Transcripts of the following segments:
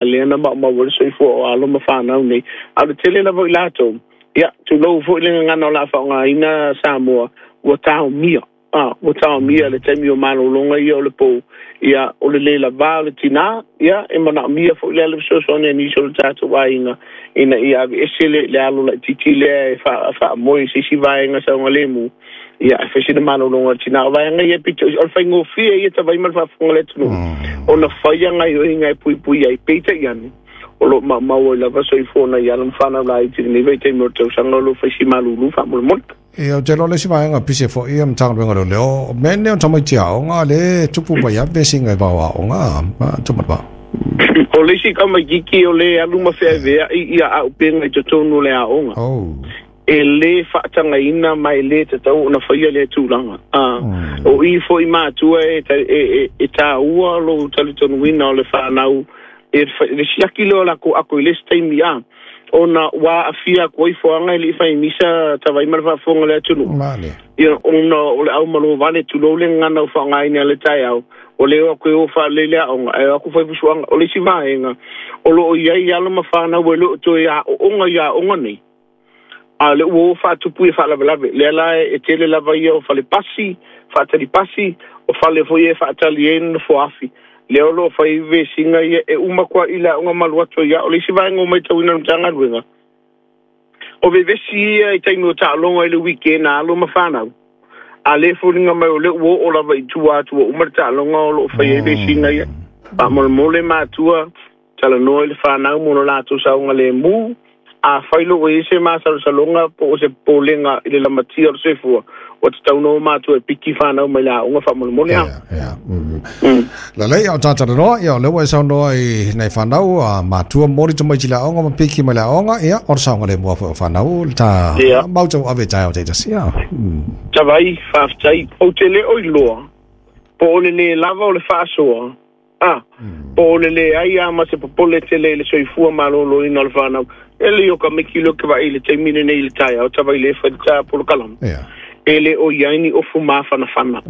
Lea na maumau ai le soifua o alo ma fanau nei, a o le tele lava o i latou, ia, tulou foi le gagana o le a faaaogaina Samoa, ua taomia, a, ua taomia i le taimi o malologa ia o le pou, ia, o le le lava o le tinā, ia, e manaomia foi lea le fesoasoani a nisi o le tatou aiga ina ia aveese le, le alo laitiiti lea e faamoe i se isi vaega saogalemu, ia, ae fai sina malologa a le tinā. O vaega ia pito, o le faigofie ia tavai ma le faafofoga a le atunuu, ona faia gaioiga e puipui ai, peitai ane, o lo o maumau ai lava soifua o nai alo ma fanau laiti i lenei vaitaimi o le tausaga o lo o fai si malulu faamolemole. Ia, ou te iloa o le isi vaega pise foi ia Matagaluega o Leoleo, o mea nei o tamaiti aoga lea e tupu mai lava vesiga i vao aoga, Tumalevao. O le isi tamaititi o lea e alu ma feaveai ia auupega i totonu o le aoga. Oh. E lē faatagaina ma e lē tatau ona faia lea tulaga. A o i foi matua e, e, e, e tāua lou talitonuina o le whānau e le siaki lea o lakou ako i le isi taimi a ona ua aafia atu ai foaga e le i fai misa tavai ma le faafofoga a le atunuu. Male. Ia, ona o le aumalovale tulou le gagana ua faaaogaina i le taeao, ua le o atu e o faalelei le aoga, ae o atu fai fusuaga. O le isi vaega, o lo o i ai alo ma fanau e le o toe aooga i aoga nei, A o lea ua o faatupu ia faalavelave. Lea la e tele lava ia o fale pasi, faatali pasi, o fale foi ia e faatali ai nofoa afi. Lea o lo o fai ai vesiga ia e uma atu ai i le aoga ma alu atu ai. O le isi vaega ua matauina e le Matagaluega, o vevesi ia i taimi o taaloga i le weekend a alo ma fanau, a lea e foliga mai o lea ua oo lava i tua atu ua uma le taaloga o lo o fai ai vesiga ia. Faamolemole matua, Talanoa i le whanau mo lo latou saogalemu, afai loa ua i ai se masalosaloga po o se popolega i le lamatia o le soifua, ua tatau ona o matua e piki whanau mai le aoga faamolemole a. Ia, ia. Lelei, a o ta talanoa, ia, o lea ua e saunoa i nai whanau, a matua moli tamaiti i le aoga ma piki mai le aoga, ia, o le saogalemu lava foi o whanau, le ta mau tauave i taeao taitasi, ia. Tavai, faafetai. Ou te le o iloa, po o le lē lava o le faasoa, A, po o le leai a ma se popole tele i le soifua maloloina o le fanau. E lei o ka miki leo ke vaai i le taimi lenei i le taeao tavai le fai le ta polokalame. E le o i ai ni ofu mafanafana.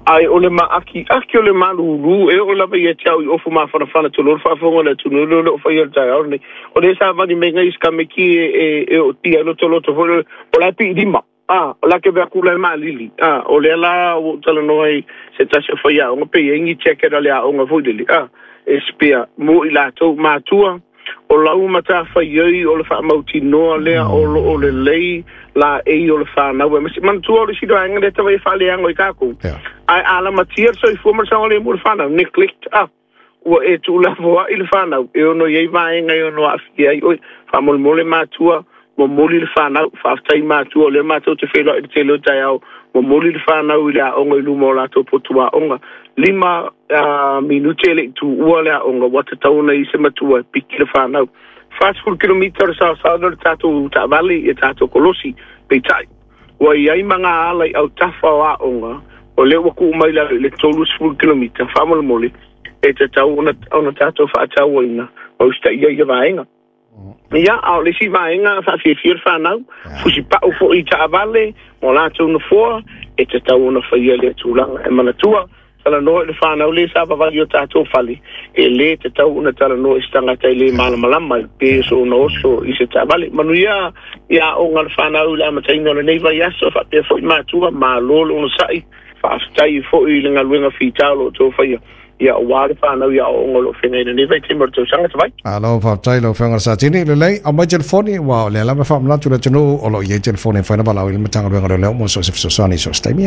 Ae o le maakiaki o le malulu e oo lava ia te au i ofu mafanafana tulou le faafofoga o le atunuu leo le o faia o le taeao lenei. O lea sa vali mai ngai si ka miki e ootia ai lotoloto foi lele o la e pii lima. A, o le a ke ave aku la e malili. A, o lea la ua ou talanoa ai se tasi o faiaoga pe i ai ni jacket a le aoga foi lele, a, e spare mo i latou. Matua, o lau matafaioi o le faamautinoa lea o lo o lelei laei o le fanau aemaise. Manatua o le isi vaega lea tau e faaleago i tatou, ae a lamatia le soifua ma le saogalemu o le fanau, neglect, a. Ua e tuulafoai le fanau e ono i ai vaega e ono aafia ai oe. Faamolemole matua, momoli le fanau. Faafetai matua, o lea matou te feiloai i le tele o taeao, momoli le fanau i le aoga i luma o latou potu aoga. 5 minute e le i tuua le aoga, ua tatau ona i ai se matua e piki le fanau. 40 kilomita o le saosaoina o le tatou taavale i a tatou kolosi, peitai, Ua i ai ma ngā ala i autafa o aoga, o lea ua kuu mai lalo i le 30 kilomita, faamolemole, e tatau ona, ona tatou faatauaina ma usitaia ia vaega. Ia, a o le isi vaega faafiafia le whanau, fusipau foi i taavale, mo latou nofoa, e tatau ona faia lea tulaga. E manatua, Talanoa i le whanau le sa vavali o tatou fale, e lē tatau ona talanoa i se tagata e lē malamalama i pe so ona oso i se taavale. Manuia i aoga le whanau i le amataina o lenei vaiaso, faapea foi matua, malo le onosai, faafetai foi i le galuega fita o lo o outou faia, ia aua le whanau i aoaoga o lo o feagai i lenei vaitaimi o le tausaga tavai. Malo faafetai lau Afioga i le Satini. Lelei, aumai telefoni, aua o lea lava e faamanatu i le atunuu o lo o i ai telefoni e mafai ona valaau i le Matagaluega o Leoleo mo so o se fesoasoani i so o se taimi.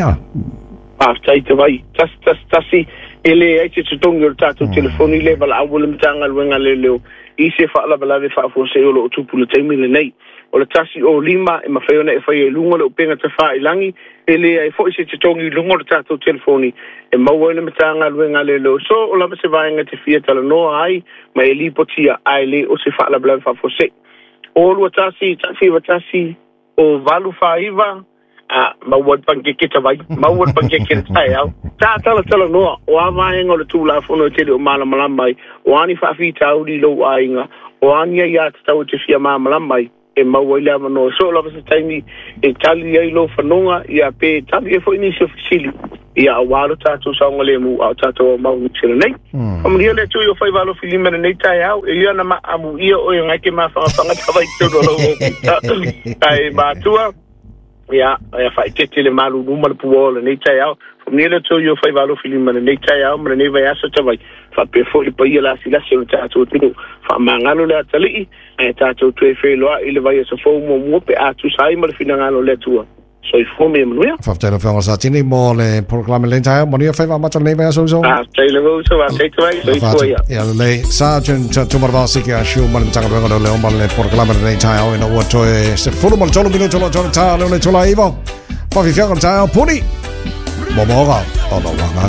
Faafetai te vai. 1 1 1, E leai se totogi o le tatou telefoni lea e valaau ai le Matagaluega a Leoleo i se faalavelave faafuasei o lo o tupu i le taimi lenei. O le 105 e mafai ona e faia i luga o le upega tafailangi, e leai foi se totogi i luga o le tatou telefoni e maua ai le Matagaluega a Leoleo. So o lava se vaega e te fia talanoa ai ma e lipotia ae le o se faalavelave faafuasei. O 2 1 1 9 1 O 8 4 9, A, maua le panikeke tavai, maua le panikeke le taeao. Sa talatalanoa, o a vaega o le Tulafono e tele o malamalama ai, o a ni faafitauli i lou aiga, o a ni aiā tatau e te fia malamalama ai, e maua ai le avanoa. So o lava se taimi e tali ai lou fanoga, ia pe tali ai foi nisi o fesili. Ia auā lo tatou saogalemu a o tatou aumau i Niu Sila nei. Faamanuia le Atua i o faiva alofilima i lenei taeao, e ia ona maamuia oe e gaike mafagafaga tava i totonu o lou ofisa. Ae matua, ia, ia faaeteete le malulu ma le puao o lenei taeao. Faamanuia le Atua i o faiva alofilima i lenei taeao ma lenei vaiaso tavai, faapea foi le paia lasilasi o le tatou atunuu. Faamagalo le atalii, ae tatou toe feiloai i le vaiaso fou muamua pe a tusa ai ma le finagalo o le Atua. Soifua ma ia manuia. Faafetai lau Afioga Satini mo le polokalame lenei taeao. Manuia faiva amata o lenei vaiaso uso. Faafetai lava uso, faafetai tavai, soifua ia. Ia lelei. Sergeant Tumaravao Siki Ashu ma le Matagaluega o Leoleo ma le polokalame lenei taeao ina ua toe 13 minuto lo tole tā leo le tula ivo. Whawhiwhianga o le taeao puni. Momoga o lo wanga.